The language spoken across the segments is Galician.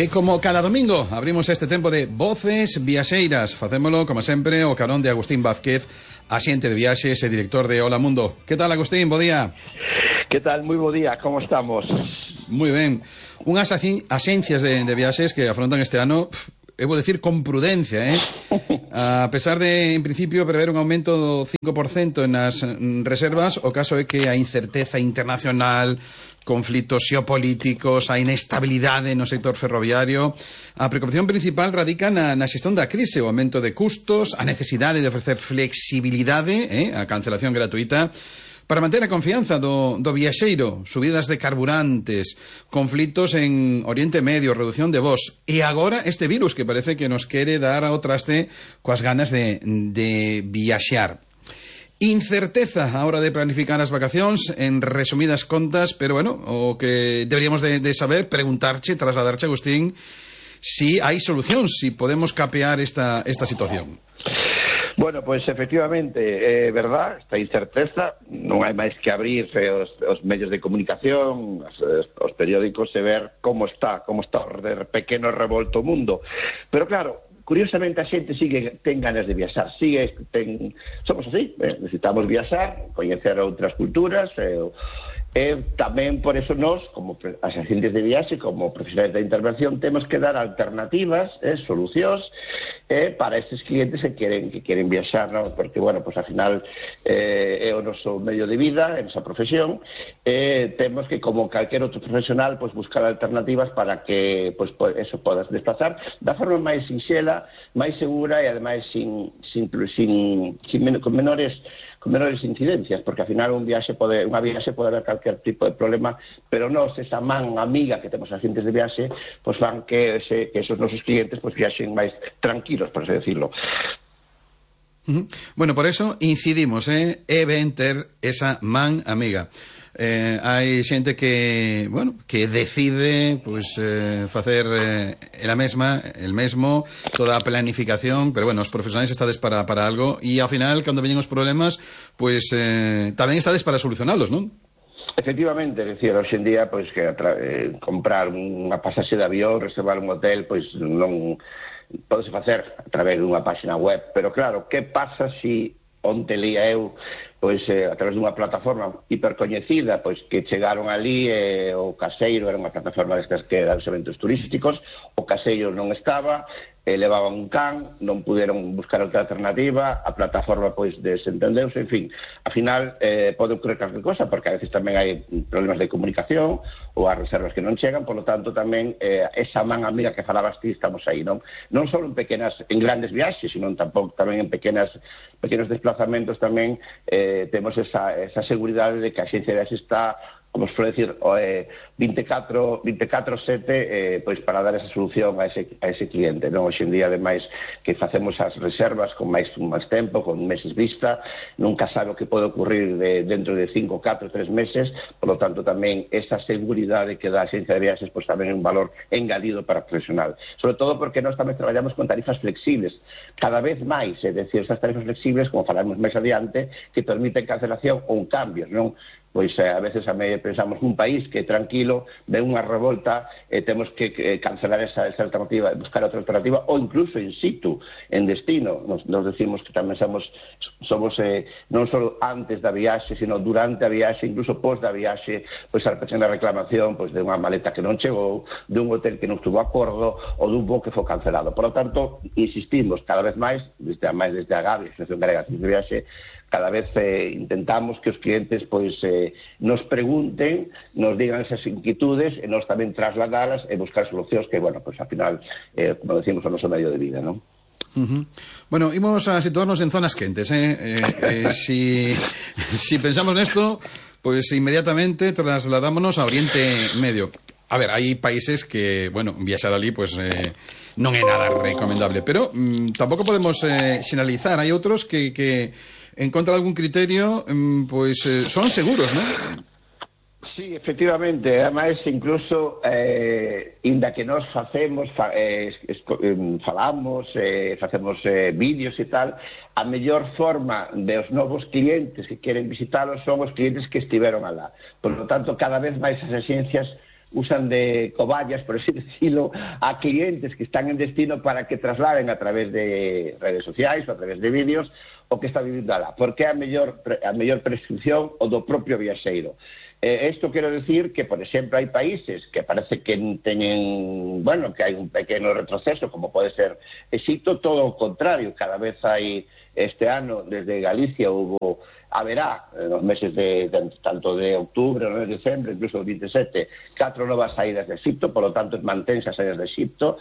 Como cada domingo abrimos este tempo de Voces Viaxeiras. Facémolo, como sempre, o carón de Agustín Vázquez, axente de viaxes e director de Hola Mundo. Que tal, Agustín? Bo día. Que tal? Moi bo día, como estamos? Moi ben. Unhas axencias de viaxes que afrontan este ano, vou decir, con prudencia, A pesar de, en principio, prever un aumento do 5% nas reservas, o caso é que a incerteza internacional, conflitos xeopolíticos, a inestabilidade no sector ferroviario. A preocupación principal radica na xestión da crise, o aumento de custos, a necesidade de ofrecer flexibilidade, a cancelación gratuita, para manter a confianza do viaxeiro, subidas de carburantes, conflitos en Oriente Medio, reducción de voos, e agora este virus que parece que nos quere dar ao traste coas ganas de viaxear. Incerteza a hora de planificar as vacacións, en resumidas contas, pero bueno, o que deberíamos de saber, preguntarche, trasladarche, Agustín, si hai solucións, si podemos capear esta situación. Bueno, pois efectivamente, é verdad, esta incerteza, non hai máis que abrir os medios de comunicación, os periódicos e ver como está o pequeno revolto mundo. Pero claro, curiosamente a xente ten ganas de viaxar, somos así, necesitamos viaxar, coñecer outras culturas, tamén por eso nós, como as axentes de viaxe, como profesionais da intervención, temos que dar alternativas, solucións para estes clientes que queren viaxar, ¿no? Porque, bueno, pues al final é o noso medio de vida, é a nosa profesión, temos que, como calquer outro profesional, pues buscar alternativas para que eso podas desplazar da forma máis sinxela, máis segura e ademais con menores incidencias, porque ao final unha viaxe pode haber calquer tipo de problema, pero nós, esa man amiga que temos as xentes de viaxe, pues fan que esos nosos clientes pues viaxen máis tranquilos, por así decirlo. Bueno, por eso incidimos, é ben ter esa man amiga. Hai xente que, bueno, que decide facer el mesmo, toda a planificación, pero bueno, os profesionais estades para algo e ao final, cando veñen os problemas, tamén estades para solucionalos, non? Efectivamente, é dicir, hoxe en día, que comprar unha pasaxe de avión, reservar un hotel, non podese facer a través dunha página web, pero claro, que pasa se onte lía eu a través dunha plataforma hipercoñecida que chegaron ali, o caseiro era unha plataforma destas que dan eventos turísticos, o caseiro non estaba, levaban un can, non puderon buscar outra alternativa, a plataforma desentendeuse, en fin, ao final pode ocurrir calquer cosa, porque a veces tamén hai problemas de comunicación ou as reservas que non chegan, por lo tanto tamén esa man amiga que falabas ti, estamos aí, non só en grandes viaxes, sino tamén en pequenos desplazamentos tamén temos esa seguridade de que a xencia de viaxes está, como se pode decir, 24/7 para dar esa solución a ese cliente, non? Hoxe en día, ademais, que facemos as reservas con máis tempo, con meses vista, nunca sabe o que pode ocurrir dentro de 5, 4, 3 meses, por lo tanto tamén esa seguridade que dá a xencia de viaxes tamén é un valor engadido para o profesional, sobre todo porque nós tamén traballamos con tarifas flexibles, cada vez máis, é dicir, esas tarifas flexibles, como falamos máis adiante, que permiten cancelación ou cambios, non? A veces pensamos un país que tranquilo, ve unha revolta, temos que cancelar esa alternativa, buscar outra alternativa, ou incluso in situ, en destino. Nos decimos que tamén somos non só antes da viaxe, sino durante a viaxe, incluso pos da viaxe, a pequena reclamación de unha maleta que non chegou, de un hotel que non estuvo a acordo, ou dun voo que foi cancelado. Por lo tanto, insistimos cada vez máis, desde a Gavi, Asociación Galega de Viaxe, cada vez intentamos que os clientes nos pregunten, nos digan esas inquietudes e nos tamén trasladalas e buscar solucións que, bueno, ao final, como decimos, o noso medio de vida, non? Bueno, imos a situarnos en zonas quentes, si pensamos nesto, inmediatamente trasladámonos a Oriente Medio. A ver, hai países que, bueno, viaxar ali, non é nada recomendable, pero tampouco podemos xeneralizar. Hai outros que en contra de algún criterio, son seguros, ¿no? Sí, efectivamente, ademais incluso inda que nós falamos, facemos vídeos e tal, a mellor forma dos novos clientes que queren visitalos son os clientes que estiveron alá. Por lo tanto, cada vez máis as axencias usan de cobayas, por así decirlo, a clientes que están en destino para que trasladen a través de redes sociais ou a través de vídeos o que está vivindo alá, porque é a mellor prescripción o do propio viaxeiro. Isto quero decir que, por exemplo, hai países que parece que teñen, bueno, que hai un pequeno retroceso, como pode ser Egipto, todo o contrario, cada vez hai, este ano, desde Galicia, haberá, nos meses tanto de outubro, no de decembro, incluso o 27, 4 novas saídas de Egipto, por lo tanto, mantense as saídas de Egipto.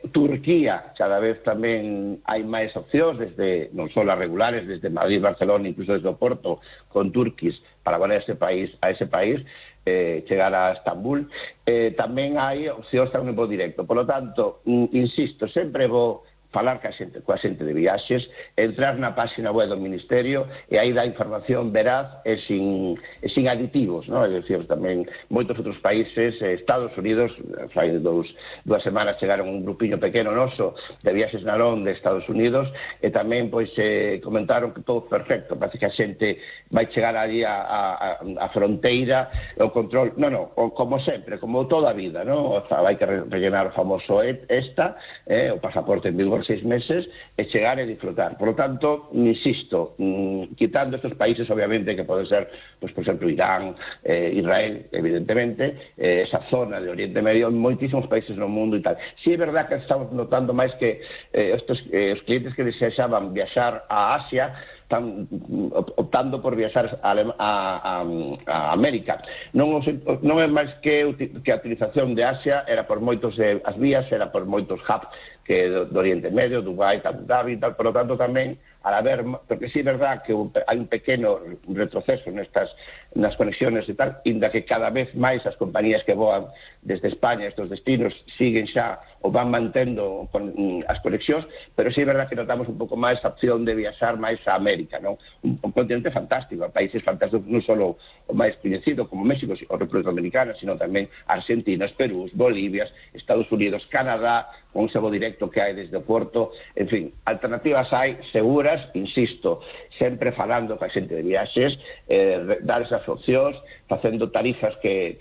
Turquía, cada vez tamén hai máis opcións, desde, non só as regulares, desde Madrid, Barcelona, incluso desde o Porto, con Turquís, para volar a ese país, chegar a Estambul. Tamén hai opcións tamén voo directo. Por lo tanto, insisto, sempre vou falar coa xente de viaxes, entrar na página web do Ministerio e aí dá información veraz e sin aditivos, non? É dicir, tamén moitos outros países, Estados Unidos, fai dúas semanas chegaron un grupiño pequeno noso de viaxes na LON de Estados Unidos e tamén pois comentaron que todo perfecto, parece que a xente vai chegar ali a fronteira, o control, como sempre, como toda a vida, non? Vai que rellenar o famoso o pasaporte en vigor 6 meses e chegar e disfrutar. Por lo tanto, insisto, quitando estos países, obviamente, que poden ser, pues, por exemplo, Irán, Israel, evidentemente, esa zona de Oriente Medio, moitísimos países no mundo e tal. Si é verdad que estamos notando máis que os clientes que desexaban viaxar a Asia están optando por viaxar a América. Non é máis que a utilización de Asia era por moitos as vías, era por moitos hubs que do Oriente Medio, Dubai, Abu Dhabi e tal, por lo tanto tamén porque sí é verdad que hai un pequeno retroceso nas conexiones e tal, inda que cada vez máis as compañías que voan desde España estos destinos siguen xa ou van mantendo as conexións, pero sí é verdad que notamos un pouco máis a opción de viaxar máis a América, non? Un continente fantástico, países fantásticos, non só o máis coñecido como México ou República Dominicana, sino tamén Argentina, Perú, Bolivia, Estados Unidos, Canadá, con ese voo directo que hai desde o Porto, en fin, alternativas hai seguras, insisto, sempre falando coa xente de viaxes, dar esas opcións, facendo tarifas que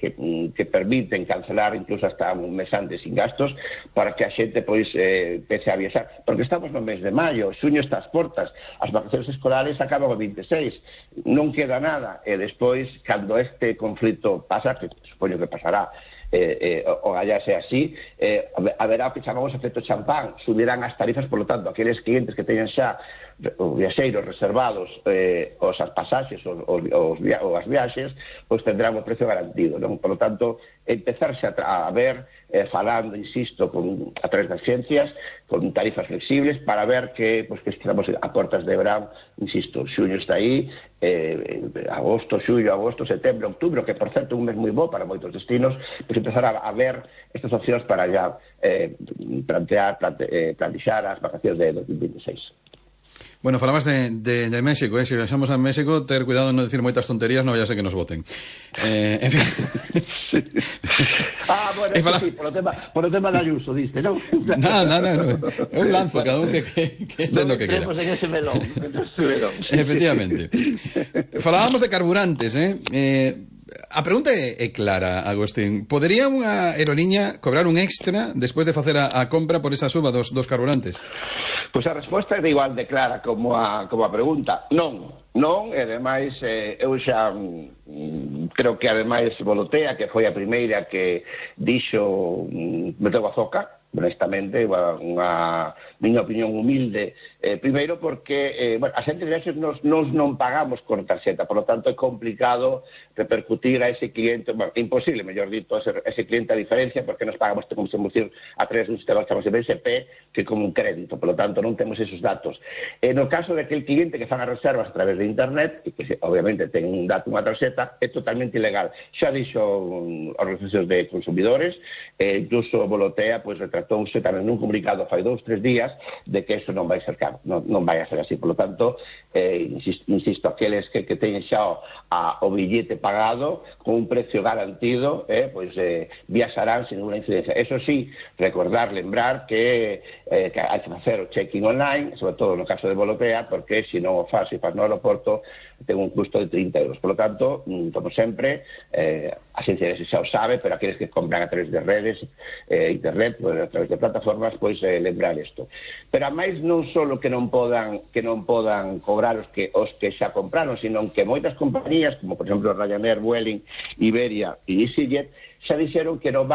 permiten cancelar incluso hasta un mes antes sin gastos, para que a xente pois pese a viaxar, porque estamos no mes de maio, xuño está ás portas, as vacacións escolares acaban o 26, non queda nada, e despois, cando este conflito pasa, que supoño que pasará, o gallase así, haberá o que chamamos efecto champán, subirán as tarifas, por lo tanto, aqueles clientes que teñan xa os viaxeiros reservados os pasaxes ou as viaxes, pois tendrán o precio garantido, non? Por lo tanto, empezarse a ver, falando, insisto, a través das ciencias, con tarifas flexibles, para ver que estamos a portas de verán, insisto, xuño está aí, agosto, xullo, agosto, setembro, outubro, que por certo é un mes moi bo para moitos destinos, pois empezar a ver estas opcións para ya plantexar as vacacións de 2026. Bueno, falabas de México, se viaxamos a México, ter cuidado de non decir moitas tonterías, non vaya a ser que nos voten. En fin. Bueno, sí, por o tema da Ayuso, diste, non? Nada, é un lanzo, cada un que entendo que quera. En ese melón. Efectivamente. Falábamos de carburantes, a pregunta é clara, Agustín. Podería unha aeroliña cobrar un extra despois de facer a compra por esa suba dos carburantes? Pois a resposta é igual de clara como a pregunta. Non, e ademais eu xa creo que ademais Volotea, que foi a primeira que dixo meteu a zoca, honestamente, unha miña opinión humilde, primeiro porque a xente de viaxes nos non pagamos con tarxeta, por lo tanto é complicado repercutir a ese cliente, imposible, mellor dito, a ese cliente a diferencia, porque nos pagamos, como se decir, a través dun sistema que chamamos de BSP, que como un crédito, por lo tanto non temos esos datos. No caso de aquel cliente que fan as reservas a través de internet, e que obviamente ten un dato, unha tarxeta, é totalmente ilegal. Xa dixo organizacións de consumidores, incluso Volotea, pois retratouse tamén nun comunicado fai 2-3 días de que eso non vai ser non vai a ser así. Por lo tanto, insisto, aqueles que teñen xa o billete pagado con un precio garantido, pois viaxarán sin ninguna incidencia. Eso sí, lembrar que hai que facer o check-in online, sobre todo no caso de Volotea, porque se non o faz no aeroporto ten un custo de 30 euros. Por lo tanto, como sempre, a xencia xa o sabe, pero aqueles que compran a través de redes, internet, a través de plataformas, pois lembrar isto. Pero a máis non só que non podan cobrar os que xa compraron, sino que moitas compañías, como por exemplo Ryanair, Vueling, Iberia e EasyJet, xa dixeron que non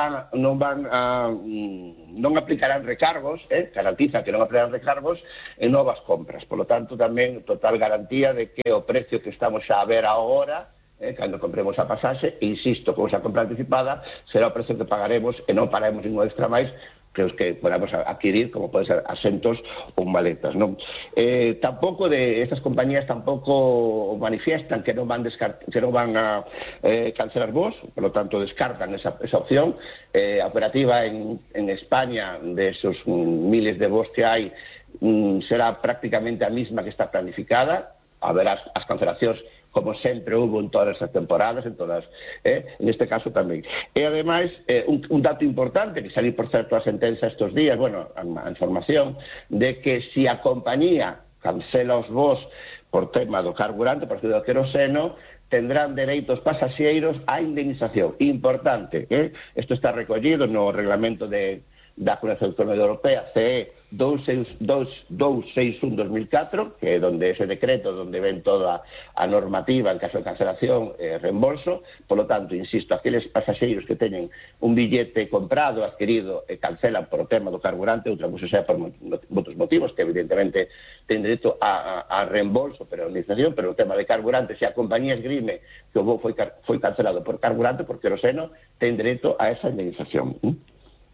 aplicarán recargos, garantiza que non aplicarán recargos en novas compras. Por lo tanto, tamén total garantía de que o precio que estamos xa a ver agora, cando compremos a pasaxe, insisto, con esa compra anticipada, será o precio que pagaremos e non pagaremos ningún extra máis que os que podamos adquirir, como pode ser asentos ou maletas, non? Tampouco estas compañías tampouco manifiestan que non van a cancelar voos, por lo tanto descartan esa opción. A operativa en España de esos miles de voos que hai será prácticamente a mesma que está planificada. Haberá as cancelacións como sempre hubo en todas as temporadas, en este caso tamén. E, ademais, un dato importante, que salir, por certo, a sentenza estes días, bueno, a información, de que se a compañía cancela os voos por tema do carburante, por do queroseno, tendrán dereito os pasaxeiros a indemnización. Importante, isto está recollido no reglamento da Comunidade Autónoma Europea, CE 261/2004, que é donde ese decreto, donde ven toda a normativa en caso de cancelación e reembolso. Por lo tanto, insisto, aqueles pasaxeiros que teñen un billete comprado, adquirido e cancelan por o tema do carburante, outra cousa sea por outros motivos, que evidentemente ten dereito a reembolso, pero a indemnización, pero o tema de carburante, se a compañía esgrime que o voo foi cancelado por carburante, por queroseno, ten dereito a esa indemnización.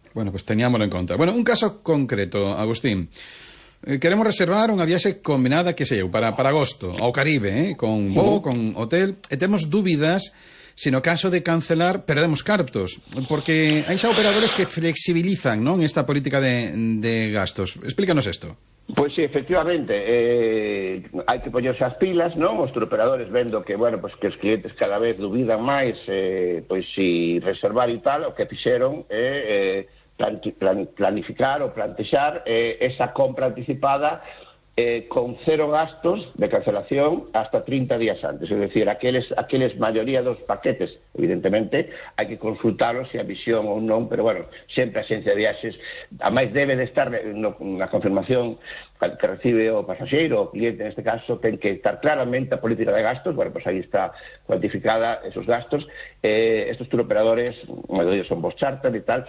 Bueno, pues teníamoslo en conta. Bueno, un caso concreto, Agustín. Queremos reservar unha viaxe combinada, que sei eu, para agosto, ao Caribe, con voo, con hotel, e temos dúbidas se no caso de cancelar perdemos cartos, porque hai xa operadores que flexibilizan, non, esta política de gastos. Explícanos isto. Pois sí, efectivamente, hai que poñerse as pilas, non? Os turoperadores vendo que, bueno, pues que os clientes cada vez dubidan máis, pois si reservar e tal, o que fixeron planificar ou plantexar esa compra anticipada con cero gastos de cancelación hasta 30 días antes. Es decir, aqueles maioría dos paquetes, evidentemente, hai que consultarlos se a visión ou non, pero, bueno, sempre a xencia de viaxes, a máis debe de estar na confirmación que recibe o pasaxeiro, o cliente neste caso, ten que estar claramente a política de gastos. Bueno, pues aí está cuantificada esos gastos. Estos turoperadores, maioría son vos charter e tal,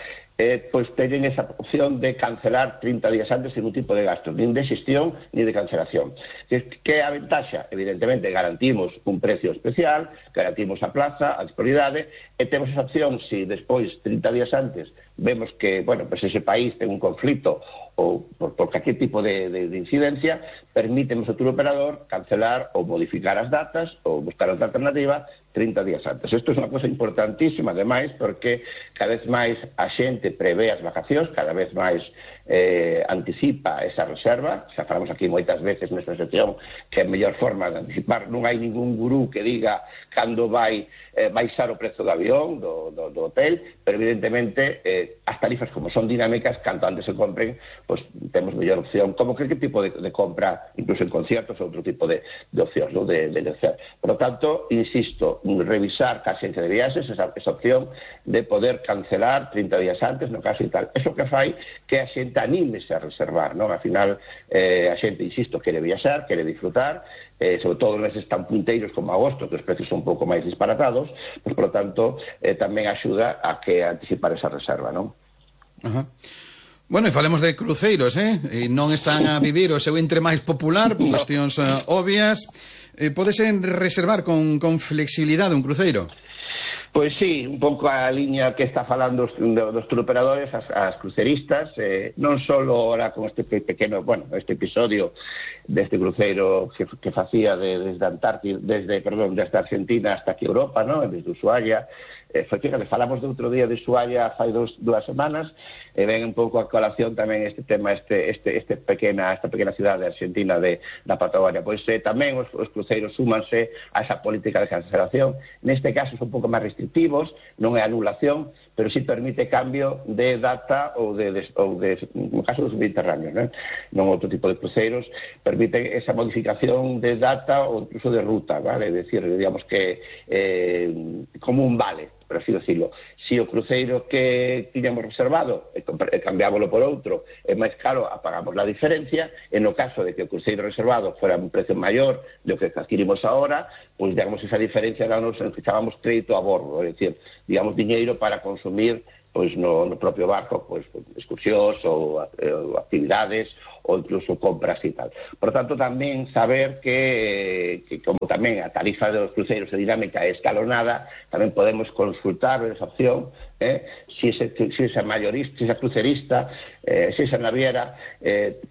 pois teñen esa opción de cancelar 30 días antes sin un tipo de gastos, nin de xestión, nin de cancelación. Que é a ventaxa? Evidentemente, garantimos un precio especial, garantimos a plaza, a disponibilidade, e temos esa opción, se despois, 30 días antes, vemos que, bueno, pues ese país ten un conflito ou por calquer tipo de incidencia, permítemos ao turoperador cancelar ou modificar as datas ou buscar outra alternativa 30 días antes. Isto é unha cosa importantísima, ademais, porque cada vez máis a xente prevé as vacacións, cada vez máis anticipa esa reserva. Xa falamos aquí moitas veces nesta sección que a mellor forma de anticipar, non hai ningún gurú que diga cando vai baixar o prezo do avión, do hotel, pero evidentemente as tarifas, como son dinámicas, canto antes se compren, pois temos mellor opción, como que tipo de compra, incluso en conciertos, outro tipo de opcións, ¿no? de negociar. Por lo tanto, insisto, revisar ca xencia de viaxes esa opción de poder cancelar 30 días antes, no caso e tal. Eso que fai que a xente anímese a reservar, non? Al final, a xente, insisto, quere viaxar, quere disfrutar, sobre todo neses tan punteiros como agosto, que os precios son un pouco máis disparatados, pois, por lo tanto, tamén axuda a que anticipar esa reserva, non? Ajá. Bueno, e falemos de cruceiros, e non están a vivir o seu entre máis popular por cuestións obvias. Podese reservar con flexibilidade un cruceiro? Pois sí, un pouco a liña que está falando dos turoperadores, as cruceristas, non só ahora con este pequeno, bueno, este episodio deste cruceiro que facía desde Argentina hasta aquí Europa, ¿no? Desde Ushuaia. Fíjate, falamos de outro día de Ushuaia fai dúas semanas, e ven un pouco a colación tamén este tema, esta pequena cidade argentina da Patagonia. Pois tamén os cruceiros súmanse a esa política de cancelación. Neste caso son un pouco máis restrictivos, non é anulación, pero sí permite cambio de data ou no caso dos mediterráneos, non outro tipo de cruceiros, permite esa modificación de data ou incluso de ruta, vale? É dicir, digamos que como un vale, por así decirlo. Si o cruceiro que tiñamos reservado cambiámoslo por outro, é máis caro, pagamos a diferencia. En no caso de que o cruceiro reservado fuera un precio maior do que adquirimos ahora, pois digamos esa diferencia nos chamamos crédito a bordo, é dicir, digamos diñeiro para consumir pois no propio barco, pois excursións ou actividades ou incluso compras e tal. Por tanto, tamén saber que como tamén a tarifa dos cruceiros é dinámica e escalonada, tamén podemos consultar esa opción, si esa mayorista, si esa crucerista, si esa naviera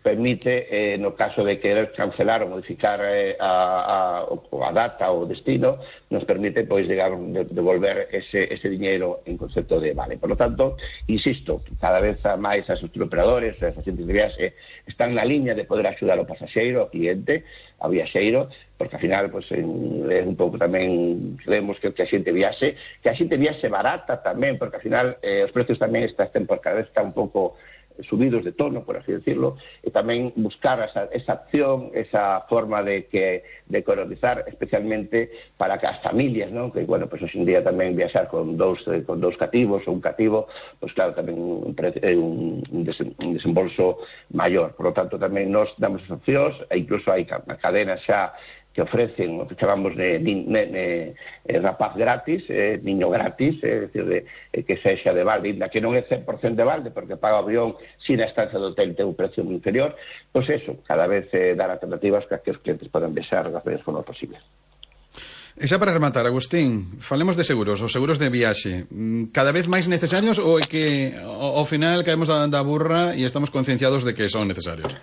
permite, no caso de querer cancelar ou modificar a data ou o destino, nos permite pois devolver ese diñeiro en concepto de vale. Por lo tanto, insisto, cada vez máis as operadores, as agentes de viaxe están na liña de poder axudar ao pasaxeiro, ao cliente, ao viaxeiro, porque ao final pues, é un pouco tamén queremos que a xente viaxe barata tamén, porque ao final os precios tamén cada vez están un pouco subidos de tono, por así decirlo, e tamén buscar esa opción, esa forma de economizar, especialmente para que as familias, ¿no? Que, bueno, pues hoxe en día tamén viaxar con dous cativos ou un cativo, pues claro, tamén é un desembolso maior. Por lo tanto, tamén nos damos as opcións, e incluso hai cadenas xa que ofrecen o que chamamos de rapaz gratis, niño gratis, é dicir, que sexa de balde, que non é 100% de balde, porque paga o avión sin a estancia do hotel ten un precio moi inferior, pois eso, cada vez dar alternativas para que os clientes podan viaxar das mellores formas posibles. E xa para rematar, Agustín, falemos de seguros, os seguros de viaxe, cada vez máis necesarios ou é que ao final caemos da burra e estamos concienciados de que son necesarios?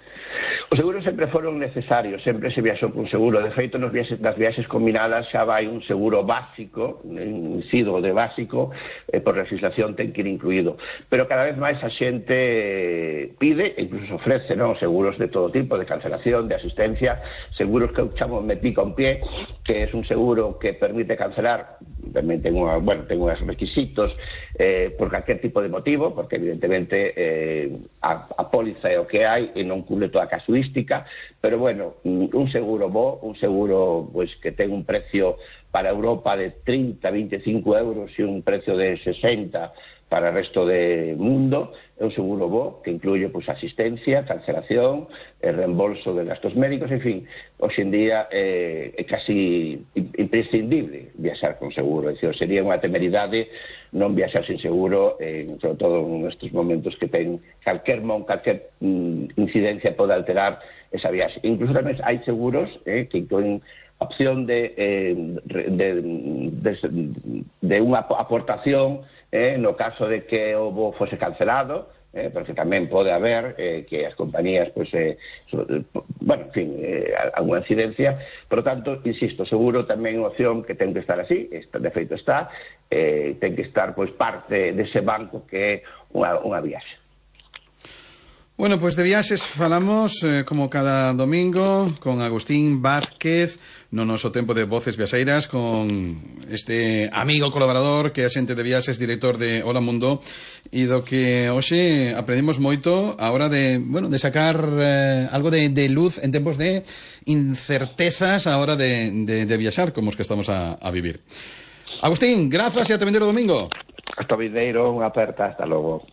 Os seguros sempre foron necesarios, sempre se viaxou con seguro. De feito, nas viaxes combinadas xa vai un seguro básico, incido de básico, por legislación ten que ir incluído. Pero cada vez máis a xente pide, e incluso se ofrece, non, seguros de todo tipo, de cancelación, de asistencia, seguros que eu chamo metí con pie, que é un seguro que permite cancelar, tamén ten uns requisitos por calquer tipo de motivo, porque evidentemente a póliza é o que hai e non cubre toda a casuística, pero bueno, un seguro bo, un seguro pues, que ten un precio para Europa de 30-25 euros e un precio de 60 para o resto do mundo, é un seguro bo que incluye pues, asistencia, cancelación, reembolso de gastos médicos, en fin, hoxe en día é casi imprescindible viaxar con seguro, é dicir, sería unha temeridade non viaxar sin seguro, sobre todo nestes momentos que ten calquer incidencia pode alterar esa viaxe. Incluso tamén hai seguros que incluen opción de unha aportación no caso de que o voo fose cancelado, porque tamén pode haber que as compañías, pues, bueno, en fin, alguna incidencia. Por lo tanto, insisto, seguro tamén unha opción que ten que estar así, de feito está, ten que estar pues, parte dese banco que é unha viaxe. Bueno, pues de viaxes falamos como cada domingo con Agustín Vázquez no noso tempo de Voces Viaxeiras, con este amigo colaborador que é axente de viaxes, director de Hola Mundo, e do que hoxe aprendemos moito a hora de sacar algo de luz en tempos de incertezas a hora de viaxar como os que estamos a vivir. Agustín, grazas e ate vindeiro domingo. Hasta vindeiro, unha aperta, hasta logo.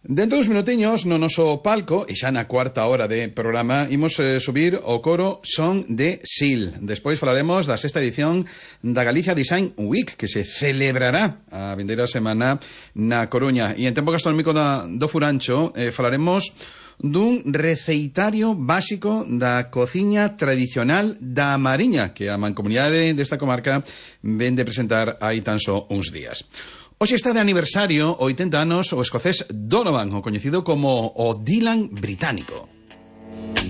Dentro dos minutiños, no noso palco, e xa na cuarta hora de programa, imos subir o coro Son de Sil. Despois falaremos da sexta edición da Galicia Design Week, que se celebrará a vindeira semana na Coruña. E en tempo gastronómico do Furancho falaremos dun receitario básico da cociña tradicional da Mariña, que a mancomunidade desta comarca ven de presentar hai tan só uns días. Hoxe está de aniversario 80 anos o escocés Donovan, o coñecido como o Dylan británico.